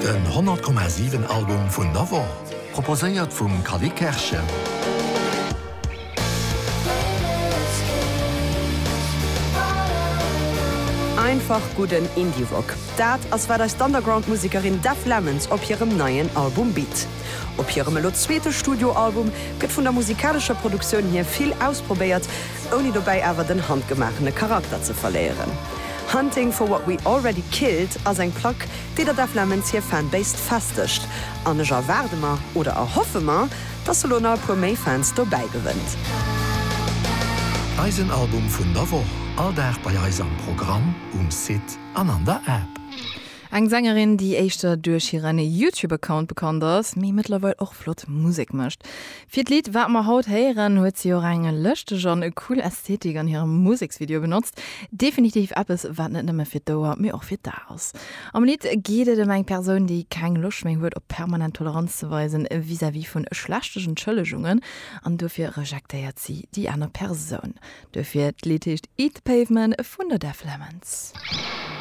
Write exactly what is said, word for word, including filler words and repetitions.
Den honnert Komma siwen Album vun der Woch, proposéiert vum Cally Kerschen. Einfach gudden Indie-Rock, dat ass wat eis d'Underground-Musekerin Def Lemons op hirem neien Album bitt. Op hirem elo zweete Studioalbum gëtt vun der musikalescher Produktioun hier vill ausprobéiert, ouni dobäi awer den handgemaachene Charakter ze verléieren. Hunting for what we already killed ass eng Plack, déi der Def Lemons hir Fanbase festegt. An ech erwaarde mer, oder erhoffe mer, dass se lo nach e puer méi Fans dobäi gewënnt. Eisen Album vun der Woch, all Dag bei eis am Programm, um Site an an der App. Eng Sängerin, déi éischter duerch hiren YouTube-Account bekannt ass, mee mëttlerweil och flott Musek mécht. Fir d'Lidd wat mer haut héieren, huet si och eng lëschteg an cool Ästhetik an hirem Museksvideo benotzt. Definitiv eppes, wat net nëmme fir d'Ouer, mee och fir d'A ass. Am Lidd geet et ëm eng Persoun, déi keng Loscht méi huet, op permanent Toleranz ze weisen vis-à-vis vun schlechten Entschëllegungen an dofir rejectéiert si déi aner Persoun. Dofir d'Lidd heescht Eat the Pavement vun der Def Lemons.